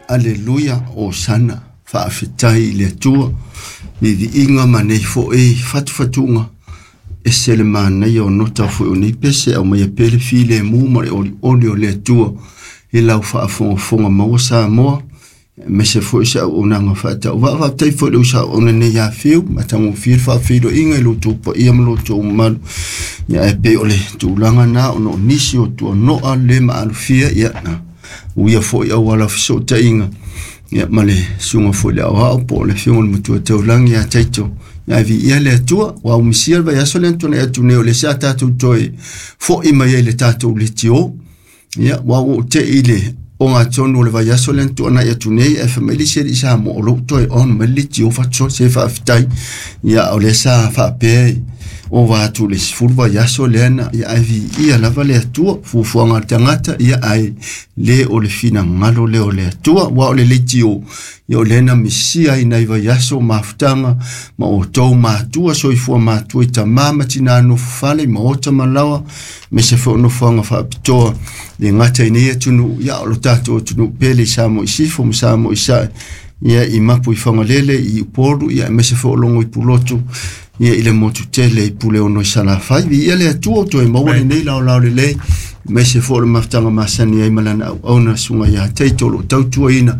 Aleluia, Osana, faafetai i le Atua, viiviiga ma nei foʻi fatufatuga, ese le manaia o nota foʻi o nei pese, aumaia pea le filemu ma le olioli o le Atua i lau faafogafoga maua Samoa, aemaise foi se auaunaga faatauvaa. Faafetai foi i le uso auauna nei ia Fiu, matagofie le faafeiloaiga i lo outou paia ma lo outou mamalu. Ia ae pei o le tulaga na ona o nisi o tuanoa le maalofia, ia na uia foi auala o fesootaiga, ia ma le susuga foi le aoao po o le afioga i le Matua Taulagi ia Taito. Ia ae viia le Atua, ua aumisia le vaiaso lea na tuanai atu nei o lea sa tatou toe fo'i mai ai i le tatou leitio. Ia ua ou tei i le ogatotonu o le vaiaso lea na tuanai atu nei, ae fai mai le isi alii Samoa o lou toe on mai le leitio fatusoli se faafetai. Ia o lea sa faapea ova atu le 10 vaiaso lea na, ia ae viia lava le Atua, fuafuaga a le tagata, ia ae le o le finagalo lea o le Atua. Ua o le leitio, ia o lea na misia ai nai vaiaso mafutaga ma outou matua, soifua matua i tamā ma tinā nofo fale i maota ma laoa, aemaise foi o nofoaga faapitoa le gata i nei atunuu, ia o lo tatou atunuu pele i Samoa i Sisifo ma Samoa i Sae, ia i Mapu i Fagalele, i Upolu, ia aemaise foi o Logo i Pulotu, ia i le motu tele i Puleono i Salafai. Viia le Atua o toe maua lenei laolao lelei, aemaise foi o le mafutaga masani ai ma lana auauna susuga ia Taito o lo o tautuaina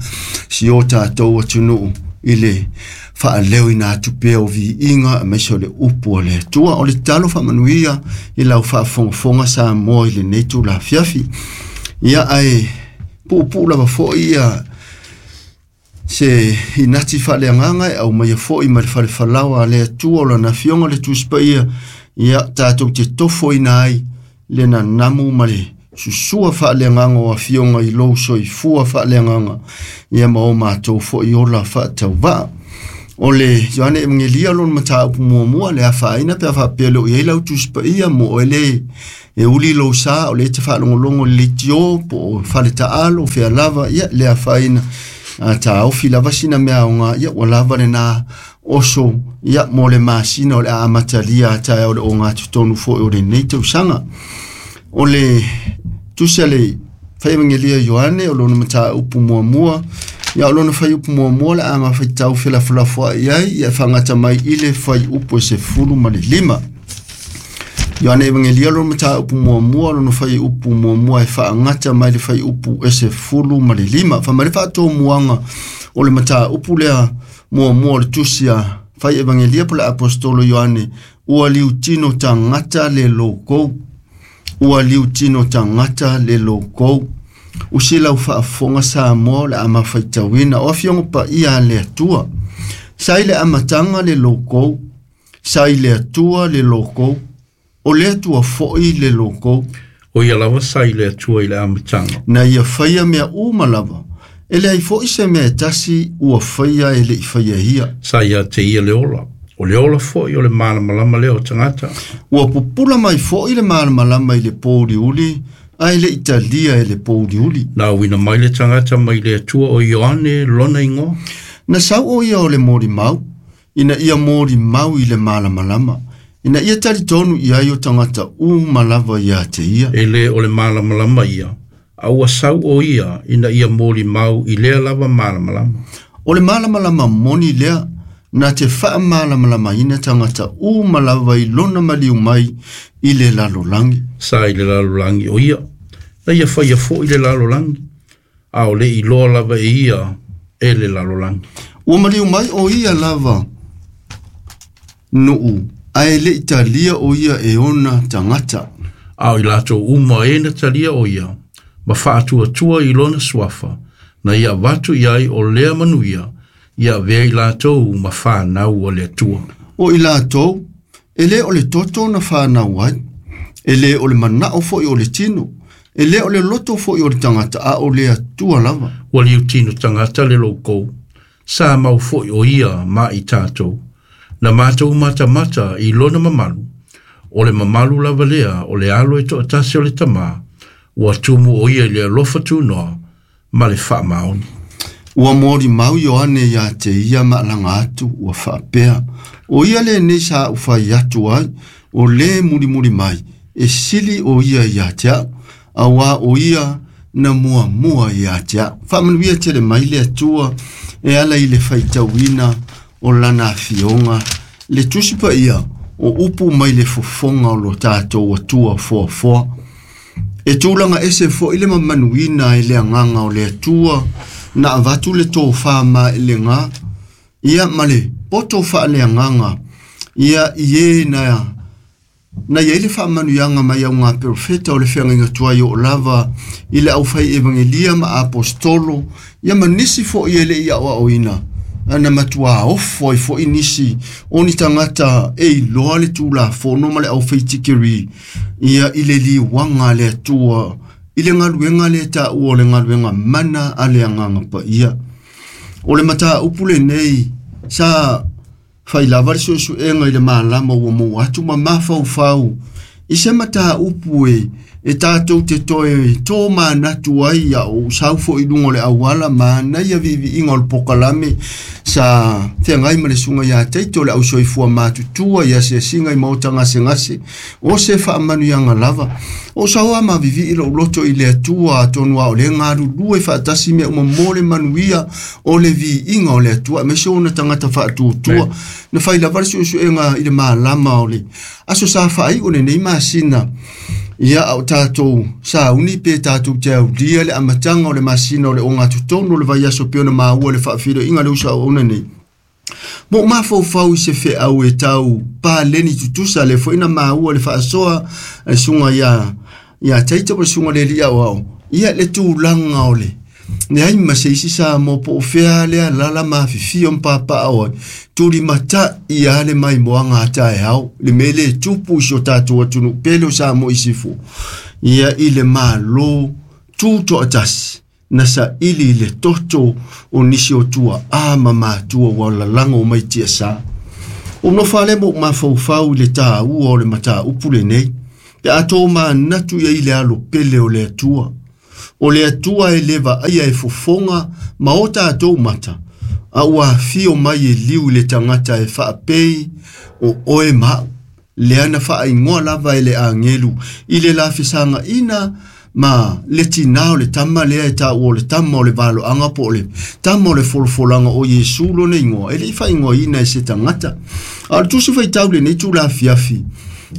si o tatou atunuu i le faaleoina atu pea o viiga aemaise o le upu a le Atua. O le tatalo faamanuia i lau faafogafoga Samoa i lenei tulafiafi. Ia ae puupuu lava foi ia se inati faaleagaga e aumaia foi ma le falefalaoa a le Atua o lana afioga le Tusi Paia, ia tatou te tofoina ai le nanamu ma le susua faaleagaga o afioga i lou soifua faaleagaga, ia ma o matou foi ola faatauvaa. O le Ioane Evangelia lona mataupu muamua le afaina pe a faapea le o i ai lau Tusi Paia mo oe le e uli lou sa o le te faalogologo i le leitio po o fale taalo fea lava, ia le afaina a taofi lava sina mea aoga, ia ua lava lena oso, ia mo le masina o le a amatalia a taeao o le ogatotonu foi o lenei tausaga. O le tusi a le fai Evangelia Ioane o lona mataupu muamua, ia o lona faiupu muamua le a mafaitau felafolafoai ai, ia e faagata mai i le faiupu e 15. Ioane Evangelia lona mataupu muamua, lona faiupu muamua e faagata mai le faiupu e 15. Fai mai le faatomuaga o le mataupu lea muamua o le tusi a fai Evangelia po le Apostolo Ioane, ua liutino tagata le loukou. Ua liutino tagata le loukou. Usi lau faafofoga Samoa o le a mafaitauina o afioga paia a le Atua. Sa i le amataga le loukou, sa i le Atua le loukou, o le Atua foi le loukou. O ia lava sa i le Atua i le amataga. Na ia faia mea uma lava, e leai foi se mea e tasi ua faia e le i faia ia. Sa ia te ia le ola, o le ola foi o le malamalama lea o tagata. Ua pupula mai foi le malamalama i le pouliuli, ae le i talia e le pouliuli. Na auina mai le tagata mai le Atua o Ioane lona igoa. Na sau o ia o le molimau, ina ia molimau i le malamalama, ina ia talitonu i ai o tagata uma lava ia te ia. E le o le malamalama ia, a ua sau o ia ina ia molimau i lea lava malamalama. O le malamalama moni lea, na te faamalamalamaina tagata uma lava i lona maliu mai i le lalolagi. Sa i le lalolagi o ia, na ia faia foi le lalolagi, a o le iloa lava e ia e le lalolagi. Ua maliu mai o ia lava nuu, ae le i talia o ia e ona tagata. A o i latou uma e na talia o ia, ma faatuatua i lona suafa, na ia avatu i ai o lea manuia, ia avea i latou ma whanau o le Atua. O i latou, e le o le toto na whanau ai, e le o le manao foi o le tino, e le o le loto foi o le tagata, a o le Atua lava. Ua liutino tagata le loukou, sa mau foi o ia ma i tātou. Na mātou matamata i lona mamalu, o le mamalu lava lea o le alo e toatasi o le tamā, ua tumu o ia i le alofa tunoa ma le faamaoni. Ua molimau Ioane ia te ia maalaga atu, ua faapea, o ia lenei sa ou fai atu ai, o le mulimuli mai, e sili o ia ia te au, auā o ia na muamua ia te a'u. Faamanuia tele mai le Atua e ala i le faitauina o lana afioga le Tusi Paia o upu mai le fofoga o lo tatou Atua foafoa. E tulaga ese fo'i le mamanuina e le agaga o le Atua na avatu le tofā maʻelegā ia ma le poto faaleagaga ia i e na iai le faamanuiaga mai au gaperofeta o le feagaiga tuai oo lava i le aufai evagelia ma apostolo ia ma nisi fo'i e le'i a'oa'oina ana matuā ofo ai fo'i nisi o ni tagata e iloa le tulafono ma le aufaitikeri ia i le liuaga a le Atua i le galuega lea taua o le galuega mana a le Agaga Paia. O le mataupu lenei sa fai lava le suesuega i le malama ua maua atu ma mafaufau i se mataupu e tatou te toe tō manatu ai a o sau fo'i luga o le auala manaia viiviiga o le pokalame sa feagai ma le suga iā Taito le ausoifua matutua i asiasiga i maota gasegase o se faamanuiaga lava o saoa mavivii lou loto i le Atua atonu a o le galulue faatasi mea uma mo le manuia o le viiga o le Atua aemaise ona tagata faatuatua. Na fai lava le suesuega i le malama o le aso sa faai'u lenei masina ia a o tatou sauni pe tatou te aulia le amataga o le masina o le ogatotonu o le vaiaso pei ona maua le faafiloiga le uso nei. Mo mafaufau i se feau e tau paleni tutusa le fo'i na maua le faasoa a le suga ia Taito ma le suga le alii aoao ia le tulaga o le leai ma se isi sa mo po o fea lea lala mafifio ma papaao ai tulimata'i a le maimoaga a taeao le mea le tupu i si o tatou atunuu pele o Samoa i sifo ia i le Mālō tuto'atasi na sa'ili i le toto o nisi o tua'a ma matua ua lalago mai tiasā. O nofa le mo mafaufau i le tāua o le mataupu lenei pe a tō manatu ia i le alo pele o le Atua. O le Atua e le vaaia e fofoga ma o tatou mata a ua afio mai e liu i le tagata e faapei o oe ma'u lea na faaigoa lava e le agelu i le lafesagaʻina ma le tinā o le tama lea e taua o le tama o le valoaga po o le tama o le folafolaga o Iesu lona igoa e le'i faaigoaina e se tagata. A o le tusi faitau lenei tulafiafi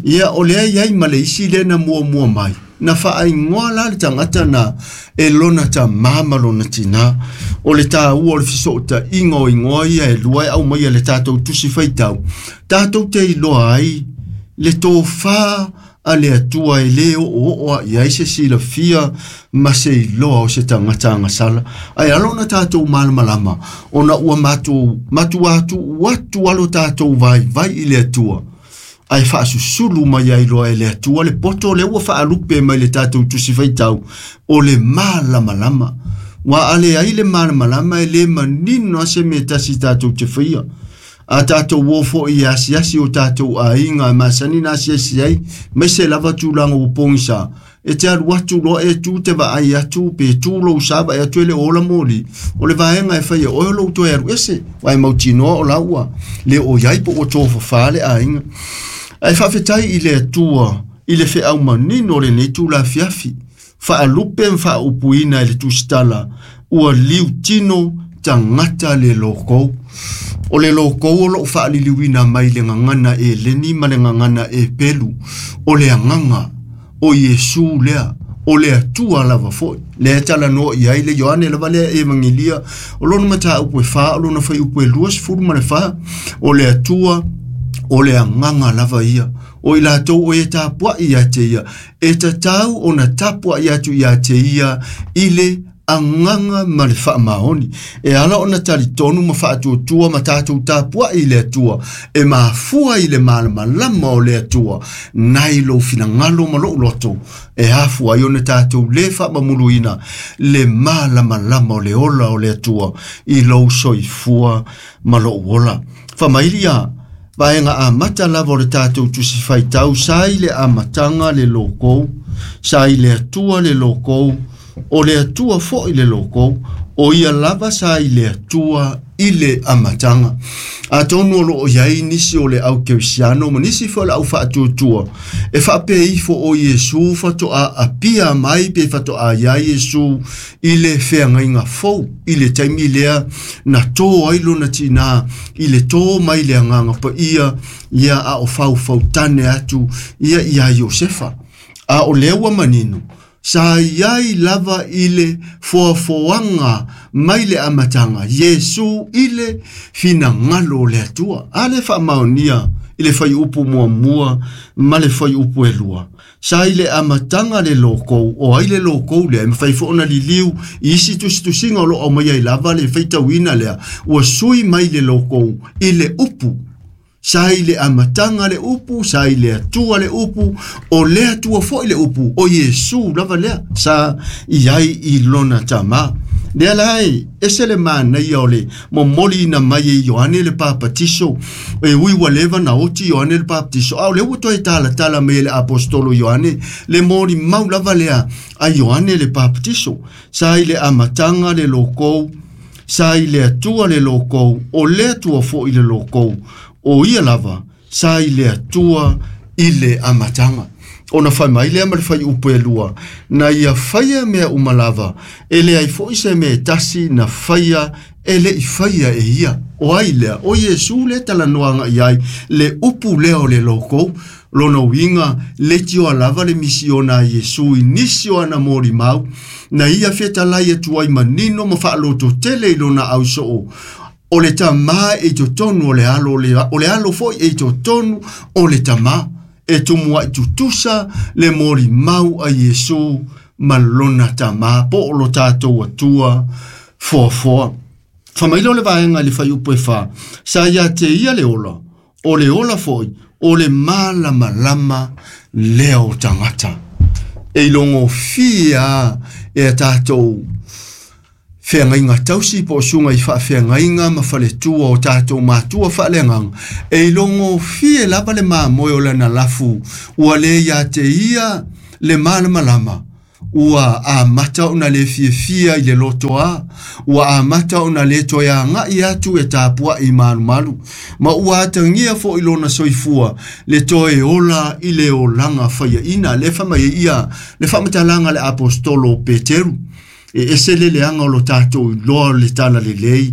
ia o lea iai ma le isi lea na muamua mai na faaigoa la le tagata na e lona tamā ma lona tinā. O le tāua o le fesoʻotaʻiga o igoa ia e lua e aumaia le tatou tusi faitau tatou te iloa ai le tofā a le Atua e lē oooo aʻi ai se silafia ma se iloa o se tagata agasala ae alo ona tatou malamalama ona ua matou matua atu atu alo tatou vaivai i le Atua ae faasusulu mai ai loa e le Atua le poto lea ua faalupe mai le tatou tusi faitau o le malamalama. Ua ale ai le malamalama e lē manino a se mea tasi tatou te faia a tatou o fo'i e asiasi o tatou aiga e masani na asiasi ai mai se lava tulaga ua pogisa e te alu atu loa e tu te vaai atu pe tu lou sa vaai atu e le ola moli o le vaega e faia oe o lou toe alu ese ua e mautinoa o la ua le o iai po ua tofafā le aiga. Ae faafetai i le Atua i le feau manino o lenei tulafiafi faalupe ma faaupuina e le tusitala ua liutino tagata le lokou. O le lokou o loo faaliliuina mai le gagana e leni ma le gagana e pelu o le agaga o Iesu lea o le Atua lava fo'i lea talanoa i ai le Ioane lava lea evagelia o lona mataupu e 4 o lona faiupu e 24 o le Atua o le agaga lava ia o i latou o e tapuaʻi ia te ia e tatau ona tapuaʻi atu ia te ia i le agaga ma le faamaoni e ala ona talitonu ma faatuatua ma tatou tapuaʻi i le Atua e mafua i le malamalama o le Atua nai lou finagalo ma lou loto e afu ai ona tatou lē faamamuluina le malamalama o le ola o le Atua i lou soifua ma lou ola. Faamailia vaega amata lava o le tatou tusi faitau sa i le amataga le lokou sa i le Atua le lokou O le Atua fo'i le loko, o ia lava sa i le Atua i le amataga. Atonu o loo iai nisi o le au kerisiano ma nisi foi o le au faatuatua e faapea ifo o Iesu faatoa apia mai pe faatoa iai Iesu i le feagaiga fou i le taimi lea na tō ai lona tinā i le tō mai le agaga paia ia a o faufautane atu ia iā Iosefa. A o lea ua manino sa iai lava i le foafoaga mai le amataga Iesu i le finagalo o le Atua. A le faamaonia i le fuaiupu muamua ma le fuaiupu e lua. Sa i le amataga le loko, o ai le loko lea, e mafai foi ona liliu i isi tusitusiga o lo o aumaia ai lava le faitauina lea, ua sui mai le loko i le upu. Sa i le amataga le upu, sa i le Atua le upu, o le Atua foi le upu, o Iesu lava lea, sa i ai i lona tamā. Lea la e ese le manaia o le momoliina mai e Ioane le Papatiso, e ui ua leva na oti Ioane le Papatiso, a o lea ua toe talatala mai e le Apostolo Ioane le molimau lava lea a Ioane le Papatiso. Sa i le amataga le loko, sa i le Atua le loko, o le Atua foi le loko, o ia lava sa i le Atua i le amataga. Ona fai mai lea ma le fuaiupu e lua, na ia faia mea uma lava, e leai foi se mea e tasi na faia e le i faia e ia. O ai lea, o Iesu le talanoaga i ai, le upu lea o le loko, lona uiga le tioa lava le misiona a Iesu i nisi o ana molimau, na ia fetalai atu ai manino ma faalototele i lona ausoo, o le tamā e i totonu o le alo, o le alo foi e i totonu o le tamā. E tumuai tutusa le molimau a Iesu ma lona tamā, po o lo tātou Atua foafoa. Fai mai lea o le vaega i le fuaiupu e fa, sa ia te ia le ola, o le ola foi, o le malamalama lea o tagata. E ilogofie a e a tātou feagaiga tausi po o suga i faafeagaiga ma faletua o tatou matua faaleagaga, e ilogofie lava le mamoe o lana lafu, ua lē ia te ia le malamalama, ua amata ona le fiafia i le lotoā, ua amata ona le toe aga'i atu e tapua'i malumalu, ma ua atagia fo'i lona soifua le toe ola i le olaga faiaʻina. Le fai mai ai ia le faamatalaga a le Apostolo o Peteru, e ese le leaga o lo tatou iloa o le tala lelei,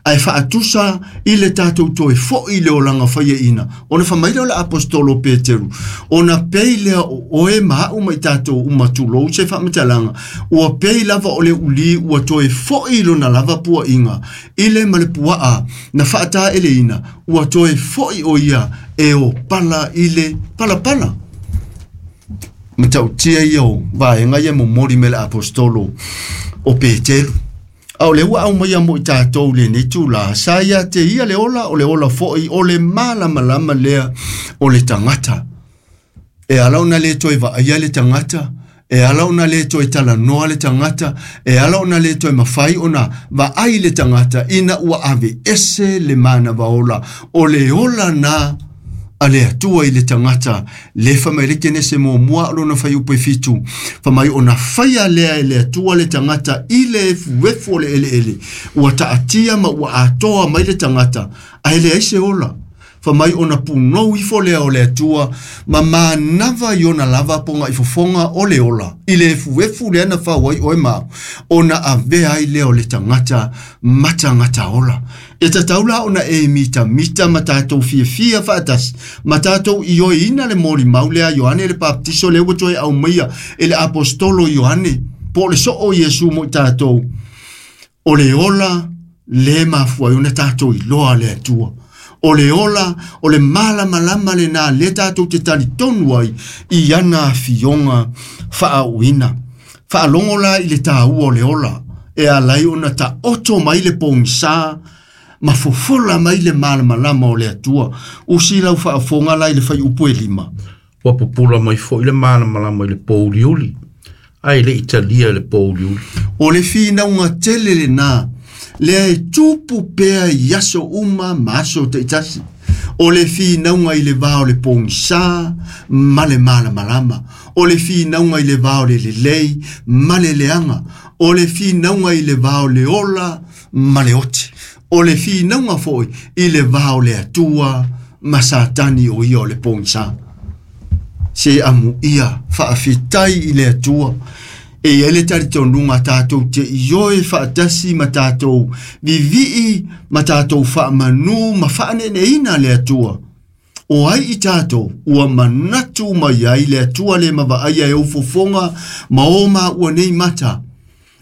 ae faatusa i le tatou toe fo'i i le olaga faiaʻina. Ona fai mai lea o le Apostolo Peteru, ona pei lea o oe ma a'u ma i tatou uma tulou se faamatalaga, ua pei lava o le ulī ua toe fo'i i lona lava puaʻiga i le ma le puaa na faataeleina, ua toe fo'i o ia e o pala i le palapala. Matautia ia o vaega ia momoli me le Apostolo o Peteru. A o le ua aumaia mo i tātou lenei tula, sa ia te ia le ola, o le ola foi, o le malamalama lea o le tagata. E ala ona le toe vaaia le tagata, e ala ona le toe talanoa le tagata, e ala ona le toe mafai ona vaai le tagata, ina ua ave ese le manava ola, o le ola na a le Atua i le tagata. Le fai mai le Kenese muamua o lona fuaiupu e fitu, fai mai ona faia lea e le Atua le tagata i le efuefu o le eleele, ua taatia ma ua atoa mai le tagata, ae leai se ola. Fai mai ona punou ifo lea o le Atua ma manava i ona lava pogaʻi fofoga o le ola i le efuefu lea na fau ai oe ma ona avea ai lea o le tagata ma tagata ola. E tatau la ona e mitamita ma tatou fiafia faatasi ma tatou ioeina le molimau lea Ioane le Papatiso, lea ua toe aumaia e le Apostolo Ioane po o le soo Iesu mo i tatou. O le ola le mafua ai ona tatou iloa le Atua. O le ola, o le malamalama lena le tatou te talitonu ai i ana afioga faaauina. Faalogo la i le tāua o le ola, e alai ona taoto mai le pogisā ma fofola mai le malamalama o le Atua. Usi lau faafofoga la i le fuaiupu e lima. Ua pupula mai foi le malamalama i le pouliuli, ae le i talia e le pouliuli. O le finauga tele lenā, lea e tupu pea i aso uma ma aso taitasi. O le finauga i le va o le pogisa ma le malamalama. O le finauga i le va o le lelei ma le leaga. O le finauga i le va o le ola ma le oti. O le finauga foi i le va o le Atua ma Satani o ia o le pogisa. Se amu ia faafetai i le Atua. E ia le talitonuga tatou te ioe faatasi ma tatou vivii ma tatou faamanu ma faaneeneina le Atua. O ai i tatou ua manatu mai ai le Atua le mavaaia e ufofoga ma o maua nei mata.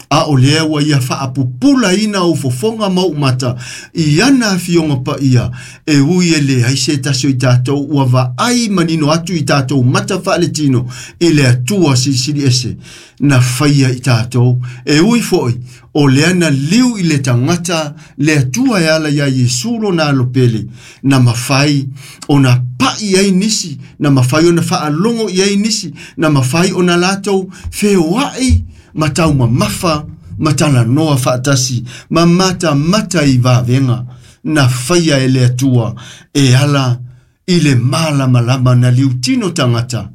A o lea ua ia faapupulaina ufofoga ma ou mata i ana afioga paia e ui e leai se tasi o i tatou ua vaai manino atu i tatou mata faaletino i le Atua silisili ese na faia i tatou. E ui foi o lea na liu i le tagata le Atua e ala ia Iesu lona alopele na mafai ona pa'i ai nisi, na mafai ona faalogo i ai nisi, na mafai ona latou feoa'i ma taumamafa ma talanoa faatasi ma matamata i vavega na faia e le Atua e ala i le malamalama na liutino tagata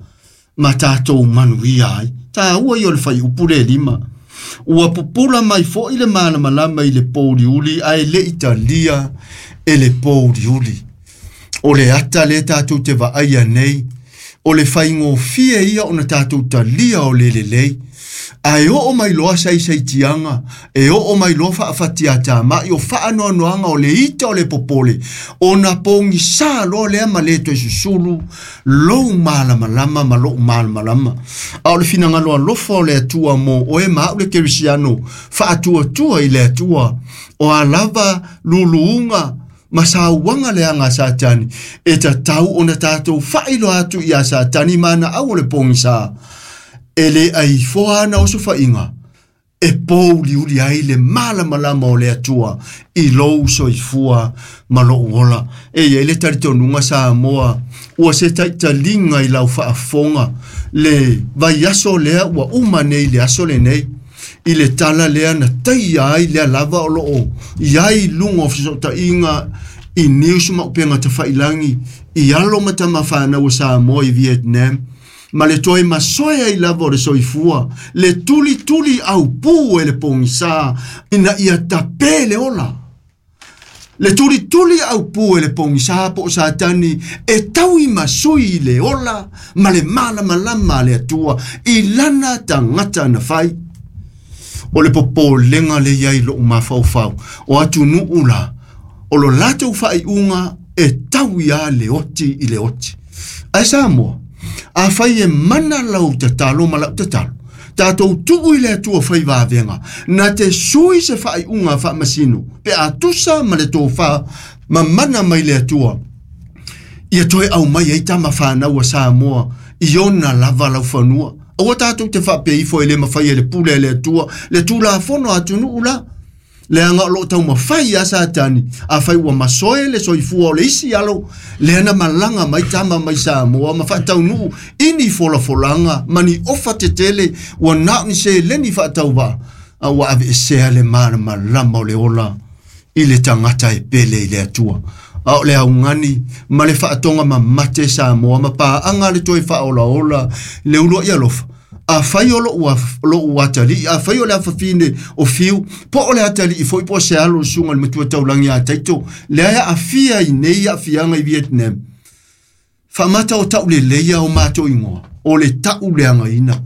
ma tatou manuia ai. Tāua i o le whaiupu le lima. Ua pupula mai foi le malamalama i le pōuliuli ae le italia e le pōuliuli. O le ata le tātou te vaaia nei, o le whaingofie ia ona tātou talia o le lelei. Ae oo mai loa saisaitiaga, e oo mai loa faafatiatamai o faanoanoaga o le ita o le popole, ona pogisā loa lea ma le toe susulu lou malamalama ma lou malamalama. A o le finagalo alofa o le Atua mo oe ma au le kerisiano faatuatua i le Atua, o a lava luluuga ma sauaga leaga a Satani, e tatau ona tatou faailoa atu ia Satani ma ana au o le pogisā. E le aifoa ana o sofaiga, e pōuliuli ai le malamalama o le Atua i lou soifua ma lou ola. E iai le talitonuga Samoa, ua se taitaliga i lau faafofoga le vaiaso lea ua uma nei le aso lenei, i le tala lea na taia ai lea lava o loo iai luga o fesootaiga i news ma upega tafailangi i alo ma tamafanau o Samoa i Vietnam, ma le toe masoe ai lava o le soifua, le tulituli au pū e le pogisā ina ia tapē le ola. Le tulituli au pū e le pogisā po o Satani e taui masui i le ola ma le malamalama a le Atua i lana tagata na fai. O le popolega le iai lou mafaufau o atunuu la, o lo latou faaiuga e taui a le oti i le oti. Ae Samoa, a fai e mana lau tatalo ma lau tatalo, tatou tuu i le Atua fai vavega, na te sui se faaiuga faamasino, pe a tusa ma le tofā ma mana mai le Atua, ia toe au mai ai tama whanau a Samoa i ona lava lau fanua. Aua tatou te faapeifo e le mafai e le pule e le Atua, le tulafono atunuu la. Leaga o loo taumafai a Satani, a fai ua masoe le soifua o le isi alo, lea na malaga mai tama mai Samoa ma faataunuu ini folafolaga ma ni ofa tetele ua na o ni seleni faatauvaa, a ua aveesea le malamalama o le ola i le tagata e pele i le Atua. A o le augani ma le faatoga mamate Samoa ma paaga le toe faaolaola le uluai alofa. A fai o lou atalii, a fai o le afafine o fiu, po o le atalii foi po o se alo o le susuga i le matua taulagi a Taito, lea e aafia i nei aafiaga i Vietnam. Faamata o tauleleia o matou igoa, o le tauleagaina.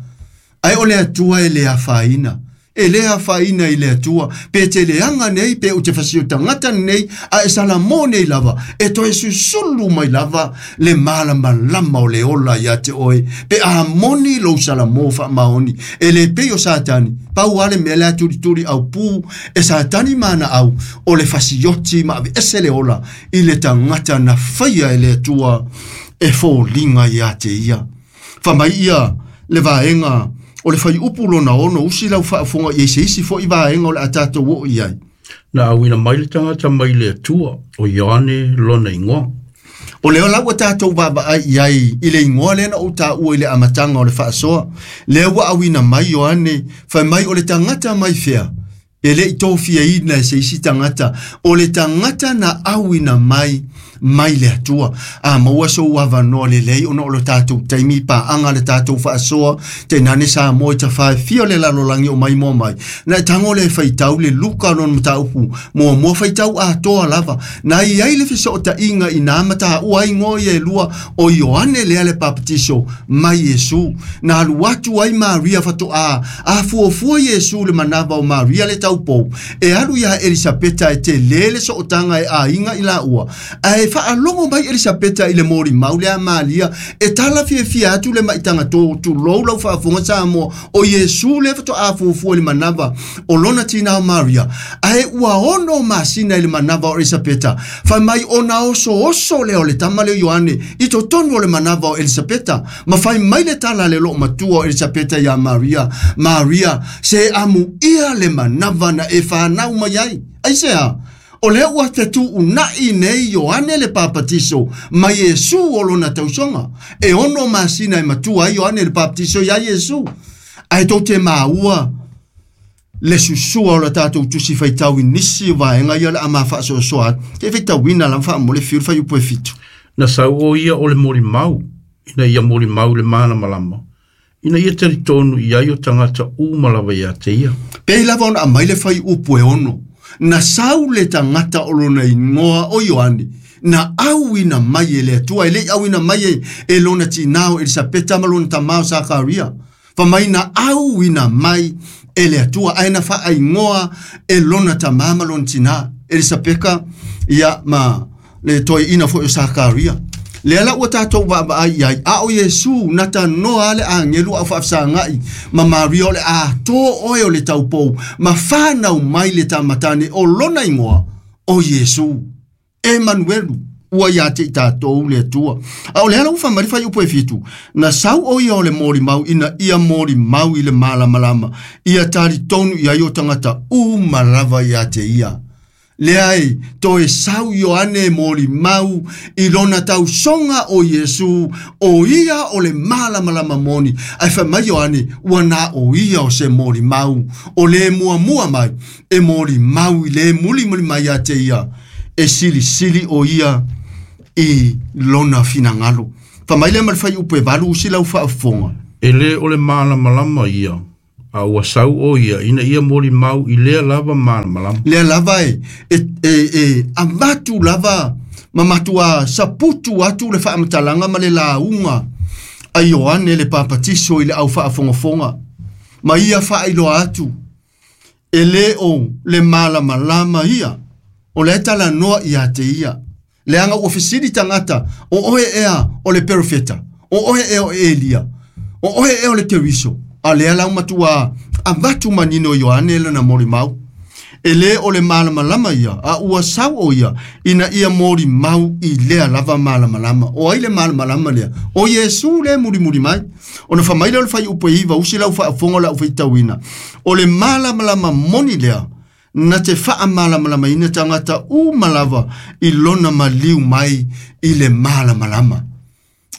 Ae o le Atua e le afaina. E le afaina i le Atua, pe te leaga nei, pe ou te fasio tagata nei, a e salamo nei lava, e toe susulu mai lava le malamalama o le ola ia te oe, pe a moni lou salamo faamaoni, e le pei o Satani, pau a le mea lea tulituli au pū, e Satani ma ana au, o le fasioti ma aveese le ola i le tagata na faia e le Atua, e foliga ia te ia. Faamai ia le vaega o le whaiupu lona ono usi lau faafofoga i ai se isi fo'i vaega o le a tatou oo i ai. Na auina mai le tagata mai le Atua, o Ioane lona igoa. O lea la ua tatou vaavaai i ai i le igoa lea na ou taua i le amataga o le faasoa. Lea ua auina mai Ioane, fai mai o le tagata mai fea, E le i tōfiaina e se isi tagata, o le tagata na auina mai mai le Atua. A maua sou avanoa lelei ona o le tatou taimi paaga le tatou faasoa, tainane Samoa i tafaefia o le lalolagi o maimoa mai. Na e tago le faitau le Luka lona mataupu, muamua faitau atoa lava. Na i ai le fesootaiga i nā mataua ai igoa ia e lua o Ioane lea le Papatiso ma Iesu. Na alu atu ai Maria faatoa afuafua Iesu le manava o Maria le taupou e alu iā Elisapeta e tele le sootaga e aiga i laua. Ae faalogo mai Elisapeta i le molimau lea a Maria e tala fiafia atu le maitaga tulou lau faafofoga Samoa o Iesu lea faatoa afuafua i le manava o lona tinā o Maria. Ae ua 6 masina i le manava o Elisapeta, fai mai ona osooso lea o le tama lea o Ioane i totonu o le manava o Elisapeta, ma fai mai le tala a le loomatua o Elisapeta iā Maria, Maria, se amuia le manava na e fanau mai ai. Aisea? O lea ua fetuunai nei Ioane le Papatiso ma Iesu o lona tausoga. E 6 masina e matua ai Ioane le Papatiso iā Iesu. Ae tou te maua le susua o le tatou tusi faitau i nisi o vaega ia o le a ma faasoasoa atu. Te faitauina lava faamole fiu le fuaiupu e 7. Na sau o ia o le molimau, ina ia molimau le malamalama, ina ia talitonu i ai o tagata uma lava ia te ia. Pei lava ona aumai le fuaiupu e 6. Na sau le tagata o lona igoa o Ioane, na auina mai e le Atua, e le i auina mai e lona tinā o Elisapeta ma lona tamā o Sakaria. Fa mai na auina mai e le Atua, ae na faaigoa e lona tamā ma lona tinā, Elisapeka ia ma le toeaina foi o Sakaria. Lea la ua tatou vaavaai i ai, a o Iesu na tanoa le agelu au faafesagai ma Maria o le atoa oe o le taupou, ma whanau mai le tamatane o lona igoa o Iesu. Emanuelu, ua ia te i tatou le Atua. A o le ala ua faamai le fuaiupu e 7, na sau o ia o le molimau ina ia molimau i le malamalama, ia talitonu i ai o tagata uma lava ia te ia. Lea e toe sau Ioane molimau i lona tausoga o Iesu, o ia o le malamalama moni. Ae fai mai Ioane, ua na o ia o se molimau, o le muamua mai, e molimau i le mulimuli mai ia te ia, e silisili o ia i lona finagalo. Fa mai le ma le fuaiupu e 8 usi lau faafofoga. E le o le malamalama ia, a ua sau o ia ina ia molimau i lea lava malamalama. Lea lava e avatu lava ma matua saputu atu le faamatalaga ma le lauga a Ioane le Papatiso i le au faafogafoga. Ma ia faailoa atu, e le o le malamalama ia, o le talanoa ia te ia. Leaga ua fesili tagata, o oe ea o le perofeta, o oe ea o Elia, o oe ea o le Keriso. A lea lau matua avatu manino Ioane lana molimau. E le o le malamalama ia, a ua sau o ia, ina ia molimau i lea lava malamalama. O ai le malamalama lea, o Iesu le mulimuli mai. Ona faamai lea o le fuaiupu e 9, usi lau faafofoga lau faitauina. O le malamalama moni lea, na te faamalamalamaina tagata uma lava i lona maliu mai i le malamalama.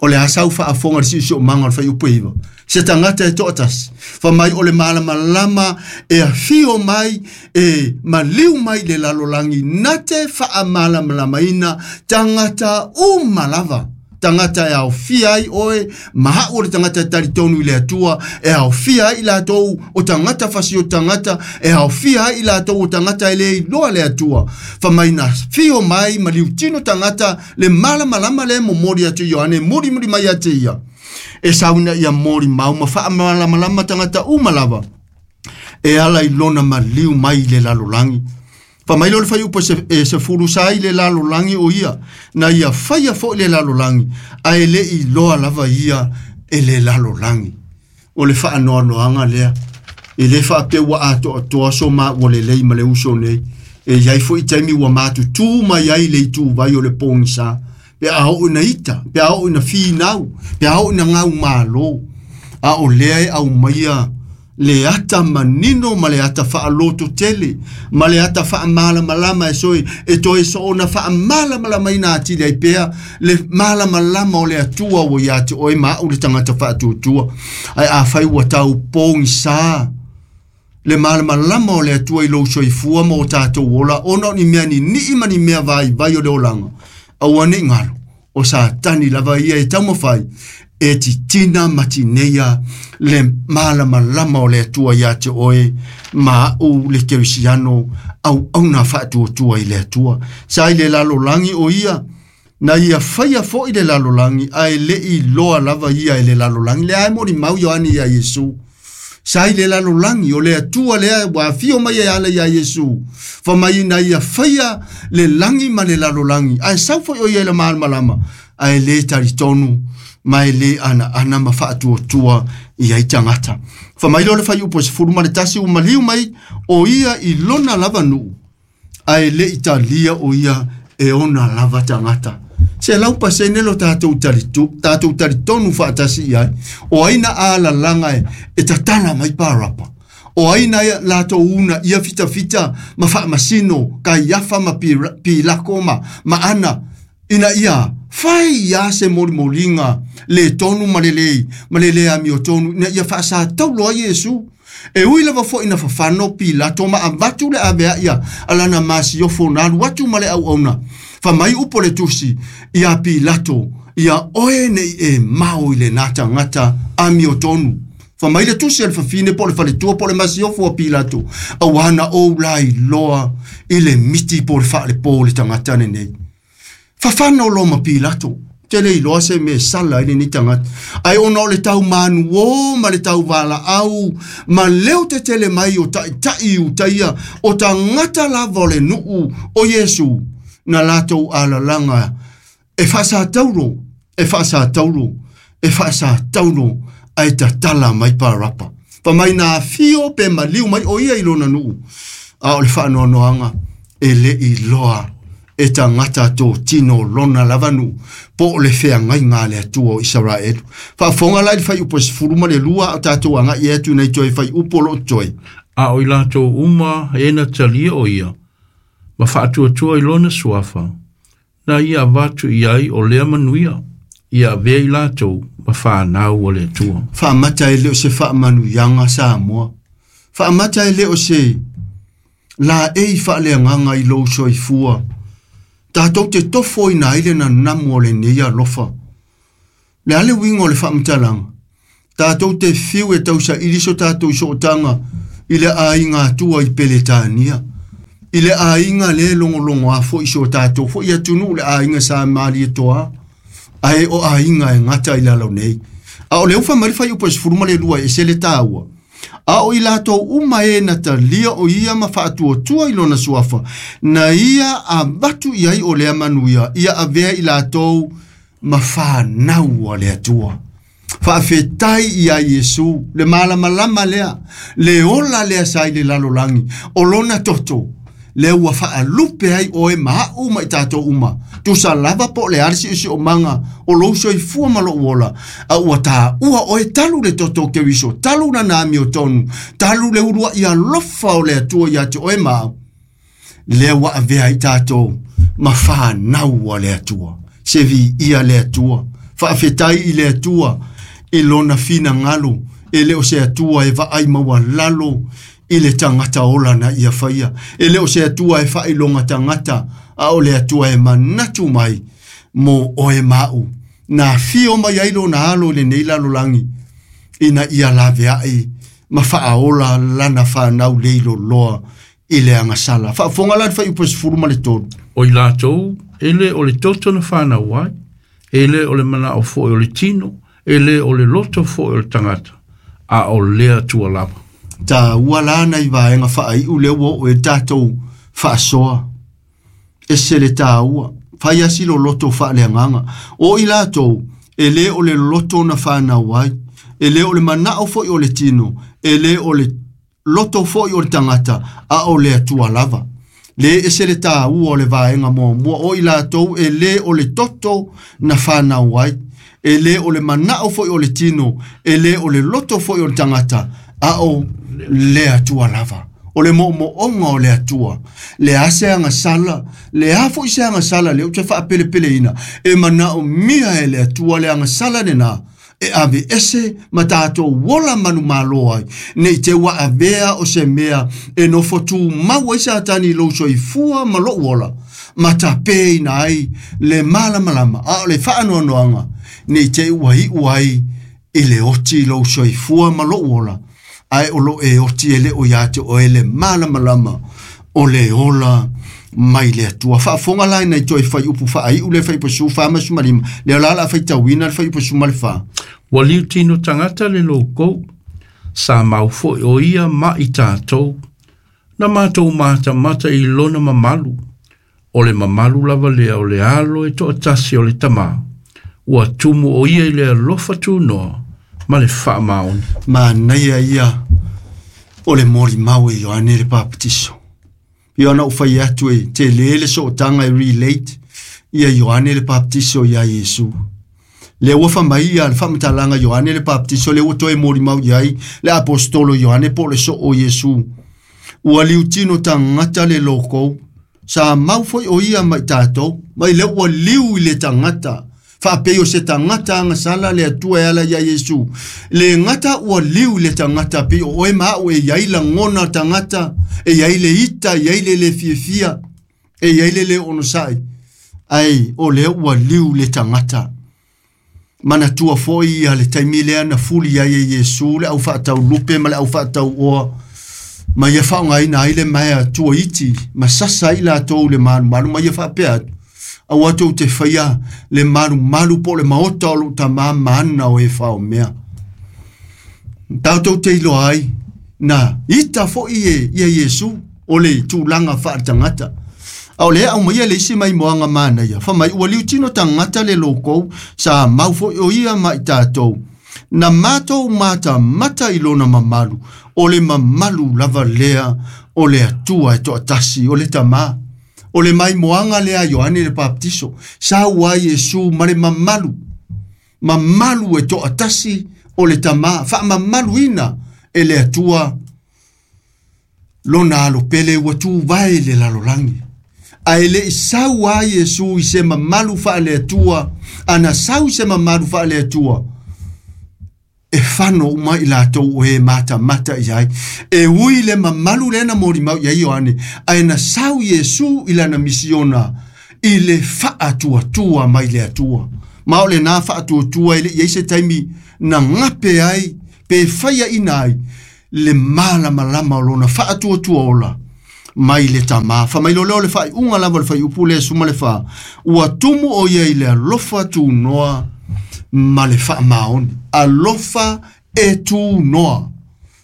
O le asa au faafofoga le siosiomaga o le fuaiupu e 9. Se tagata e toatasi, fa mai o le malamalama e afio mai, e maliu mai le lalolagi, na te faamalamalamaina tagata uma lava. Tagata e aofia ai oe, ma au o le tagata e talitonu i le Atua, e aofia ai i latou o tagata fasi o tagata, e aofia ai i latou o tagata e le iloa le Atua. Fa mai na fio mai ma liutino tagata le malamalama le momoli atu Ioane, mulimuli mai ia te ia. E sauna ia molimau ma faamalamalama tagata uma lava, e ala i lona maliu mai le lalolagi. Fa mai lea o le fuaiupu e 10 sa i le lalolagi o ia, na ia faia foi le lalolagi, ae le i loa lava ia e le lalolagi. O le faanoanoaga lea, e le faapea ua atoatoa so maua lelei ma le uso nei. E iai foi taimi ua matutu mai ai le ituvai o le pogisa, pe a oo ina ita, pe a oo ina finau, pe a oo ina gaumalo. A o lea e aumaia le ata manino ma le ata faaloto tele, ma le ata faamalamalama e soe, e toe soona faamalamalamaina atili ai pea le malamalama o le Atua ua ia te oe ma au le tagata faatuatua. Ae afai ua tau pogisa Le malamalama o le Atua i lou soifua ma o tatou ola, ona o ni mea nini'i ma ni mea vaivai o le olaga, aua ne i galo, o Satani lava ia e taumafai e titina ma tineia le malamalama o le Atua ia te oe ma a'u le kerisiano auauna faatuatua i le Atua. Sa i le lalolagi o ia, na ia faia fo'i le lalolagi, ae le'i iloa lava ia e le lalolagi. Lea e molimau Ioane ia Iesu. Sa i le lalolagi o le Atua lea ua afio mai e ala ia Iesu, fa mai na ia faia le lagi ma le lalolagi, ae sau foi o ia i le malamalama, ae le talitonu ma e le ana ma faatuatua i ai tagata. Fa mai lea o le fuaiupu e 11, ua maliu mai o ia i lona lava nuu, ae le i talia o ia e ona lava tagata. 100% lo tatou talitonu faatasi i ai. O ai na alalaga e tatala mai Parapa. O ai na latou una ia fitafita ma faamasino, Kaiafa ma Pilako ma Ana, ina ia fai ia se molimoliga le tonu ma le lei, ma le le amiotonu, ina ia faasataulo ai Iesu. E ui lava fo'i na fafano Pilato ma avatu le avea ia alana masiofo na alu atu ma le auauna. Fa mai upo le tusi ia Pilato, ia oe nei e mao i le nā tagata amiotonu. Fa mai le tusi a le fafine po le faletua po le masiofo a Pilato, auā na ou la iloa i le miti po le faalepo le tagata lenei. Fafano lo ma Pilato, te le iloa se me sala i lenei tagata. Ae ona o le taumanu o ma le tauvalaau ma leo te tele mai o ta'ita'i utaia o tagata lava o le nuu o Iesu, na latou alalaga e faasataulo, e faasataulo, e faasataulo, ae tatala mai Parapa. Fa mai na afio pe maliu mai o ia i lona nuu, a o le faanoanoaga e le iloa e tagata totino lona lava nuu, po o le feagaiga a le Atua o Isaraelu. Faafofoga la i le fuaiupu e 12, a o tatou aga'i atu nei toe fuaiupu o loo totoe. A o i latou uma e na talia o ia, ma faatuatua i lona suafa, na ia avatu i ai o lea manuia, ia avea i latou ma whanau o le Atua. Faamata e le o se faamanuiaga Samoa. Faamata e le o se laei faaleagaga i lou soifua. Tatou te tofo ina ai le nanamu o lenei alofa. Le a le uiga o le faamatalaga. Tatou te fiu e tausaili so tatou sootaga i le aiga Atua i Peletania. I le aiga le logologo a fo'i so tatou fo'i atunuu le aiga sa malietoa. Ae o aiga e gata i lalo nei. A o le ufa mai le fuaiupu e 12 e se le tāua. A o i latou uma e na talia o ia ma faatuatua i lona suafa, na ia avatu i ai o lea manuia, ia avea i latou ma whanau a le Atua. Faafetai ia Iesu, le malamalama lea, le ola lea sa i le lalolagi, o lona toto, le ua faalupe ai oe ma a'u ma i tatou uma. Tusa lava po o le a le si'osi'omaga o lou soifua ma lo'u ola, a ua tāua oe talu le toto o Keriso, talu lana amiotonu, talu le ulua'i alofa o le Atua ia te oe ma au. Lea ua avea ai tatou ma whanau a le Atua. Se viia le Atua. Faafetai i le Atua i lona finagalo, e le o se Atua e vaai maualalo i le tagata ola na ia faia. E le o se Atua e faailoga tagata, a o le Atua e manatu mai mo oe ma'u. Na afio mai ai lona alo i lenei lalolagi, ina ia laveai ma faaola lana whanau leiloloa i le agasala. Faafofoga la le fuaiupu e 13. O i latou, e le o le toto na whanau ai, e le o le manao fo'i o le tino, e le o le loto fo'i o le tagata, a o le Atua lava. Tāua la nai vaega faaiu lea ua oo e tatou faasoa. E se le tāua, fai asi lo loto faaleagaga. O i latou, e le o le loto na whanau ai, e le o le manao fo'i o le tino, e le o le loto fo'i o le tagata, a o le Atua lava. Le e se le tāua o le vaega muamua, o i latou e le o le toto na whanau ai, e le o le manao fo'i o le tino, e le o le loto fo'i o le tagata, a o le Atua lava. O le mo'omo'oga o le Atua, le a se agasala, le a fo'i se agasala lea ou te faapelepeleina, e manaomia e le Atua le agasala lenā, E ave ese ma tātou ola manumalo ai. Nei te ua avea o se mea e nofo tū mau ai Satani i lou soifua ma lou ola. Ma tapeina ai le malamalama a o le faanoanoaga nei te ua iu ai i le oti i lou soifua ma lou ola. Ae o lo e oti e le o ia te oe le malamalama o le ola mai le Atua. Faafofoga la ina i toe fuaiupu faaiu le fuaiupu 45, lea o la o le a faitauina le fuaiupu 14. Ua liutino tagata le loukou, sa mau foi o ia ma i tatou, na matou matamata i lona mamalu, o le mamalu lava lea o le alo e toatasi o le Tamā, ua tumu o ia i le alofa tunoa ma le faamaoni. Manaia ia o le molimau e Ioane le Papatiso. Ia ona ou fai atu e tele le sootaga e relate ia Ioane le Papatiso ia Iesu. Le ua fai ia le faamatalaga Ioane le Papatiso, le ua toe molimau i ai le apostolo Ioane po o le soo o Iesu. Ua liutino tagata le lokou, sa mau foi o ia ma i tatou, mai le ua liu i le tagata. Faapei o se tagata agasala le Atua e ala ia Iesu. Le gata ua liu i le tagata pei o oe ma au e iai lagona tagata, e iai le ita, e iai le le fiafia, e iai le le onosai. Ai o lea ua liu le tagata. Manatua foi ia le taimi lea na fuli ai e Iesu le au faataulupe ma le au faatauoa. Ma ia faaaogaina ai le maea tuaiti, ma sasa ai latou le malumalu, ma ia faapea atu. Aua tou te faia le malumalu po o le maota o lou tamā ma ana o e faomea. Tatou te iloa ai na ita foi e ia Iesu o le tulaga faaletagata. A o lea aumaia le isi maimoaga manaia, fai mai ua liutino tagata le loukou, sa mau foi o ia ma i tatou. Na matou matamata i lona mamalu, o le mamalu lava lea o le Atua e toatasi, o le Tamā. O le maimoaga lea a Ioane le Papatiso, sau ai Iesu ma le mamalu, mamalu e toatasi o le Tamā, faamamaluina e le Atua lona alopele ua tuvae le lalolagi. Ae le i sau ai Iesu i se mamalu faale-Atua, ana sau i se mamalu faale-Atua, e fano uma i latou o e matamata i ai. E ui le mamalu lea na molimau i ai Ioane, ae na sau Iesu i lana misiona i le faatuatua mai le Atua. Ma o lena faatuatua e le i ai se taimi na gape ai, pe faiaina ai, le malamalama o lona faatuatua ola mai le Tamā. Fai mai loa lea o le faaiuga lava o le fuaiupu lea 14, ua tumu o ia i le alofa tunoa ma le faamaoni. Alofa e tunoa.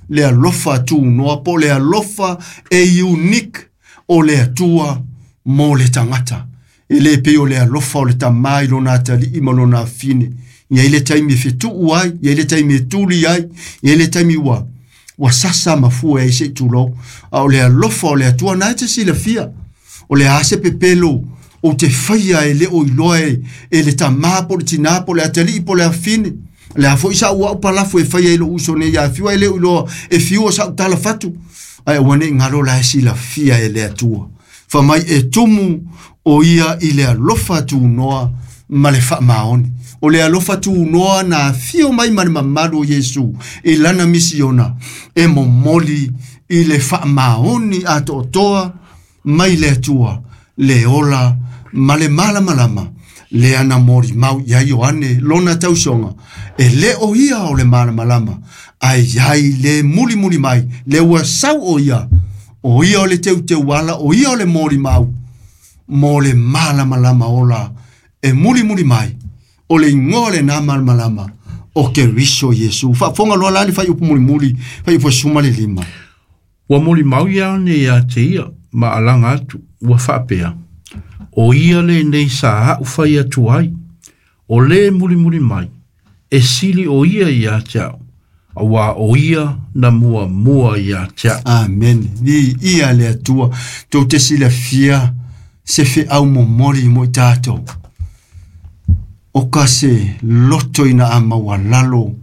Le alofa tunoa po o le alofa e unique o le Atua mo le tagata. E le pei o le alofa o le tamā i lona atalii ma lona afine. Ia i le taimi e fetuu ai, ia i le taimi e tuli ai, ia i le taimi ua sasa ma fua ai se i tulou. A o le alofa o le Atua na e te silafia. O le a se pepelo o te faia e le o iloa e le tamā po le tinā po le atalii po le afine. Le a foi sa ua au palafu e faia i lo uso nei ia fiua e le o iloa e fiua sa utala fatu. Ai ua nei ngalo la e silafia e le Atua. Fai mai e tumu o ia i le alofa tunoa ma le faamaoni. O le alofa tunoa na afio mai ma le mamalu o Iesu i lana misiona e momoli i le faamaoni atoatoa mai le Atua, le ola ma le malamalama lea na molimau ia Ioane lona tausoga. E le o ia o le malamalama, ae iai le mulimuli mai, le ua sau o ia, o ia o le teuteuala, o ia o le molimau, mo le malamalama ola e mulimuli mai, o le igoa lena malamalama o Keriso Iesu. Faafofoga loa la le fuaiupu mulimuli, fuaiupu 15. Ua molimau Ioane ia te ia ma alaga atu, ua faapea, o ia lenei sa a'u fai atu ai, o le mulimuli mai, e sili o ia ia te a'u, auā o ia na muamua ia te a'u. Amen. Viia le Atua. Tou te silafia se feau momoli mo i tatou. O ka se loto ina a maualalo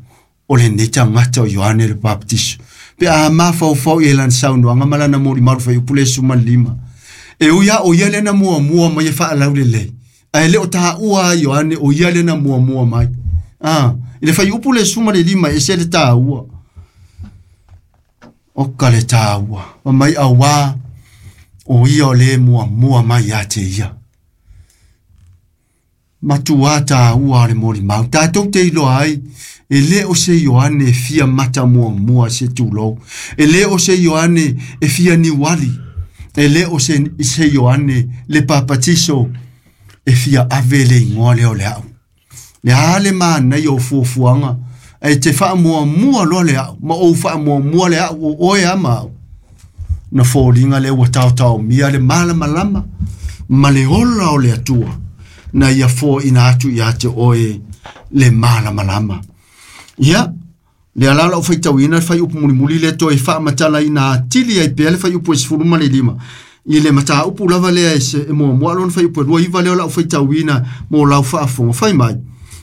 o lenei tagata o Ioane le Papatiso. Pe a mafaufau i e lana saunoaga ma lana molimau fuaiupu le 15. E ui a o ia lena muamua mai e faalaulelei. Ae le o taua a Ioane o ia lena muamua mai. I le fuaiupu le 15 e ese le tāua. O ka le tāua. Ma mai auā o ia o le muamua mai ia te ia. Matua tāua o le molimau. Tātou te iloa ai, e le o se Ioane e fia mata muamua se tūlou. E le o se Ioane e fia niuali. E le o se Ioane le papatiso e fia ave le ingoa lea o le au. Le a le mānai o fuafuaga, e te faamuamua loa le au, ma ou faamuamua le au o oe a ma au. Na foliga lea ua taotaomia le malamalama ma le ola o le Atua, na ia foaina atu ia te oe le malamalama. Ia, le ala lau faitauina le fuaiupu mulimuli le toe faamatalaina atili ai pea le fuaiupu e 15. I le mataupu lava lea e muamua lona fuaiupu e 29 lea o lau faitauina mo lau faafofoga. Fai mai,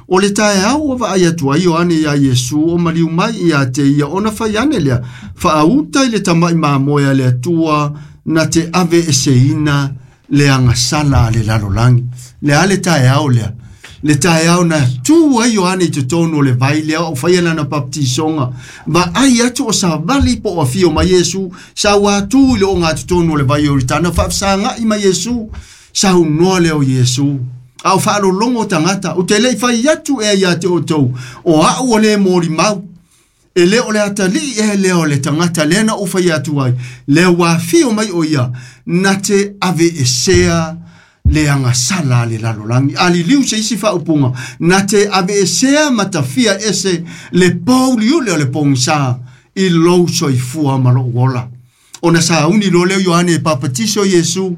o le taeao ua vaai atu ai Ioane ia Iesu o maliu mai ia te ia ona fai ane lea, faauta i le tama'i mamoe a le Atua na te ave eseina le agasala a le lalolagi. Le a le taeao lea, le taeao na tu ai Ioane i totonu o le vai lea o faia lana baptisoga, vaai atu o savali po o afio mai Iesu, sa ua atu i le oga totonu o le vai o Ioritana, faafesaga'i mai Iesu, saunoa lea o Iesu. A o faalologo tagata, ou te le'i fai atu ea ia te outou, o a'u o le molimau, e le o le atalii ea lea o le tagata lea na ou fai atu ai, lea ua afio mai o ia, na te ave esea le agasala a le lalolagi. A liliu se isi faaupuga, na te ave esea matafia ese le pouliuli o le pogisā i lou soifua ma lou ola. Ona sauni loa lea o Ioane e papatiso Iesu,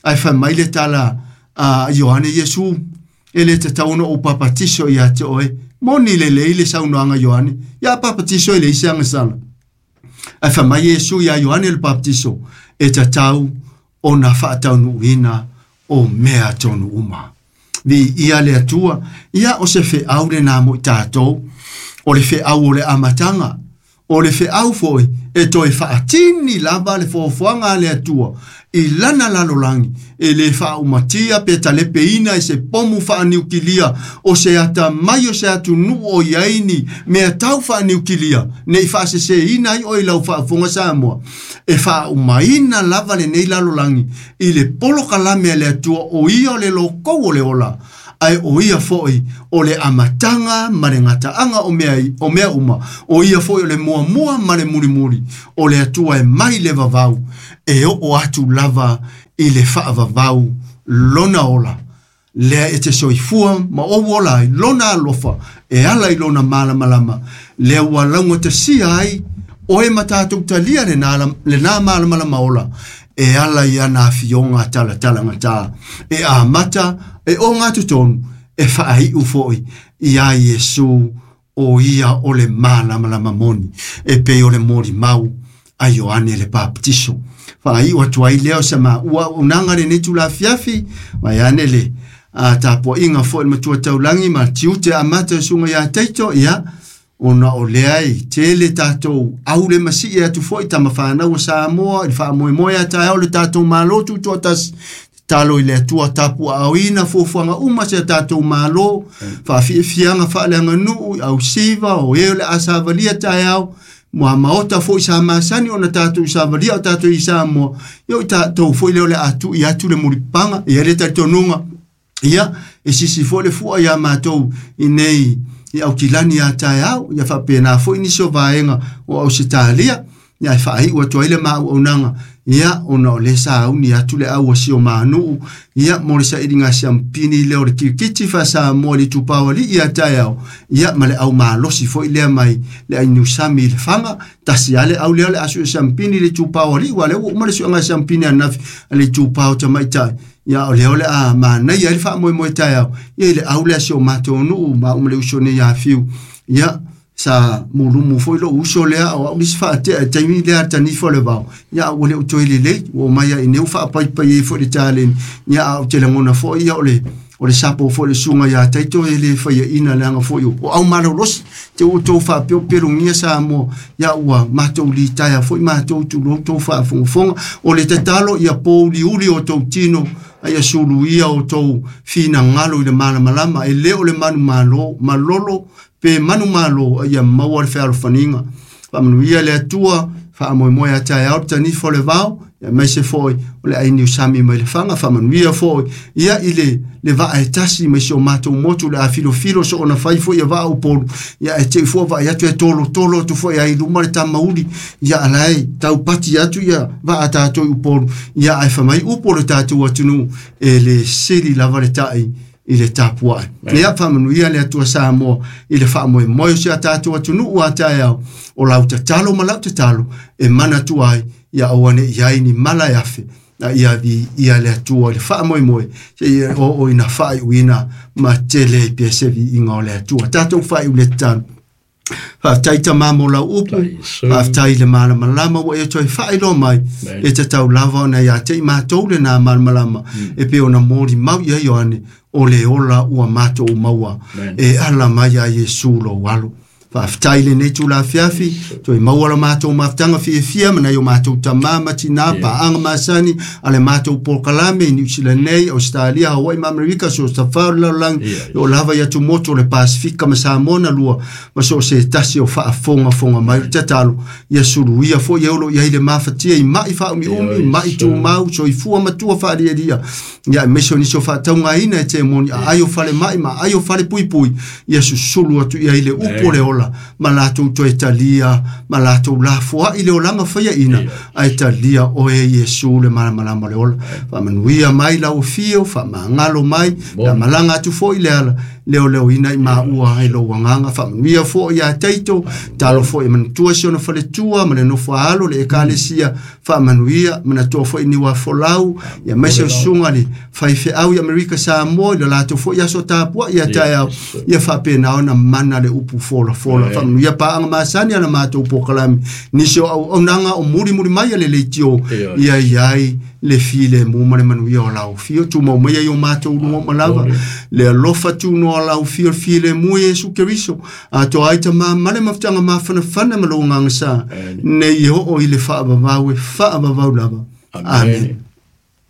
ae fai mai le tala a Ioane, Iesu, e le tatau ona ou papatiso ia te oe. Moni lelei le saunoaga Ioane, ia papatiso e leai se agasala. Ae fai mai Iesu ia Ioane le papatiso, e tatau ona faataunuuina o mea tonu uma. Vi ia le Atua, ia o se feau lenā mo i tātou, o le feau o le amataga, o le feau foi e toe faatini lava le fuafuaga a le Atua i lana lalolagi, e le faaumatia pe talepeina e se pomu faaniukilia o se atamai o se atunuu o i ai ni mea tau faaniukilia, nei faaseseina ai oe i lau faafofoga Samoa, e faaumaina lava lenei lalolagi i le polokalame a le Atua o ia o le lokou o le ola, ae o ia foi o le amataga ma le gataaga o mea uma, o ia foi o le muamua ma le mulimuli, o le Atua e mai le vavau, e oo atu lava i le faavavau lona ola. Lea e te soifua ma ou ola ai lona alofa, e ala i lona malamalama, lea ua laugatasia ai oe ma tātou talia lenā malamalama ola, e ala i ana afioga talatalagata, e amata, e o ngā totonu, e faaiu foi ia Iesu o ia o le malamalama moni, e pei o le molimau a Ioane le papatiso. Faaiu atu ai lea o se maua auaunaga lenei tulafiafi, mai ane le tapuaiga foi le matua taulagi ma tiute amata o suga ia Taito, ia, ona o lea e tele tātou au le masii atu foi tamawhanau o Samoa, i le faamoemoe a taeao le tātou malo tutoatasi, talo i le Atua tapu aoina fuafuaga uma se tātou malo, faafiafiaga faaleaganuu, au siva, o e o le asavalia taeao, mua maota foi sa masani ona tātou savalia o tātou i Samoa, ia o tātou foi lea o le atu i atu le mulipaga, ia le talitonuga, ia, e sisi foi le fua ia mātou i nei i aukilani a taeao, ia faapena foi nisi o vaega o Ausetalia, ia e faaiu atu ai le maauaunaga, ia ona o le sauni atu le au o si o manuu, ia mo le sailiga siampini lea o le kirikiti faasamoa i le itupa o alii a taeao, ia ma le au malosi foi lea mai le ainiusami i le faga, tasi a le au lea o le asu e siampini i le itupa o alii, ua lea ua uma le suega siampini ananafi a le itupa o tamaitai, ia o lea o le a manaia ai le faamoemoe taeao, ia i le au lea si o matou nuu ma uma le uso nei ia Fiu, ia sa mulumu foi lou uso lea o au nisi faatea e taimi lea tanifa o le vao, ia ua le o toe lelei, ua omai ai nei ua faapaipai ai foi le taleni, ia a ou te lagona foi ia o le sapo foi le suga ia Taito e le faiaina leaga foi o au malolosi, te ua outou faapeopelogia Samoa, ia ua matou litaea foi matou tulou tou faafogafoga, o le tatalo ia pouliuli o tou tino, A ia suluia outou finagalo i le malamalama, e lē o le manumalo malolo pe manumalo, a ia maua le fealofaniga. Faamanuia le Atua, faamoemoe a taeao le tanifa o le vao, aemaise foi o le ai niusami mai le faga. Faamanuia foi ia i le vaa e tasi mai si o matou motu, le afilofilo so ona fai foi ia vaa Upolu, ia e tei fua vaai atu e tolotolo atu foi ai luma le tamauli, ia alae taupati atu ia vaa tatou i Upolu, ia ae famai upu o le tatou atunuu, e le sili lava le tai i le tapuai. Ia faamanuia le Atua Samoa i le faamoemoe o si a tatou atunuu a taeao, o lau tatalo ma lau tatalo e manatua ai, ia aua ne i ai ni mala e afe, a ia vi ia le Atua i le faamoemoe, seia oo ina faaiuina ma tele ai pea se viiga o le Atua. Tatou faaiu le tatalo. Faafetai Tamā mo lau upu, faafetai i le malamalama ua e toe faailoa mai, e tatau lava ona ia te i matou lena malamalama, e pei ona molimau ia Ioane, o le ola ua matou maua, e ala mai ia Iesu lou alo. Faafetai lenei tulafiafi, toe maua la matou mafutaga fiafia ma nai o matou tamā ma tinā, paaga masani a le matou polokalame i Niu Sila nei, Ausetalia, Hawaii ma Amerika, so o se tafao o le lalolagi, e oo lava i atumotu o le Pasefika ma Samoa na lua, ma so o se tasi o faafogafoga mai. O le tatalo, ia suluia foi e olo i ai le mafatia i mai faaumiumi, mai tumau, soifua matua faalialia, ia aemaise o nisi o faataugaina e temoni aai o falemai ma aai o falepuipui, ia susulu atu i ai le upu o le ola, ma latou toe talia, ma latou lafoai le olaga faiaina, ae talia oe Iesu le malamalama o le ola. Faamanuia mai lau afio, faamagalo mai, faamalaga atu foi le ala, leoleoina i maua ai lou agaga. Faamanuia foi ia Taito, talo foi e manatua si ona faletua ma le nofo a alo le ekalesia, faamanuia, manatua foi ni folau, ia aemaise o susuga le faifeau i Amerika Samoa i le latou foi aso tapuai ia taeao, ia faapena ona mana le upu folafola. Faamanuia paaga masani a le matou polokalame, nisi o auaunaga o mulimuli mai a le leitio, ia iai le filemu ma le manuia o lau fio, tumau mai ai o matou luga uma lava, le alofa tunoa o lau fio, le filemu Iesu Keriso, atoa ai tamā ma le mafutaga mafanafana ma lou agaga sa, nei oo i le faavavau e faavavau lava. Amen.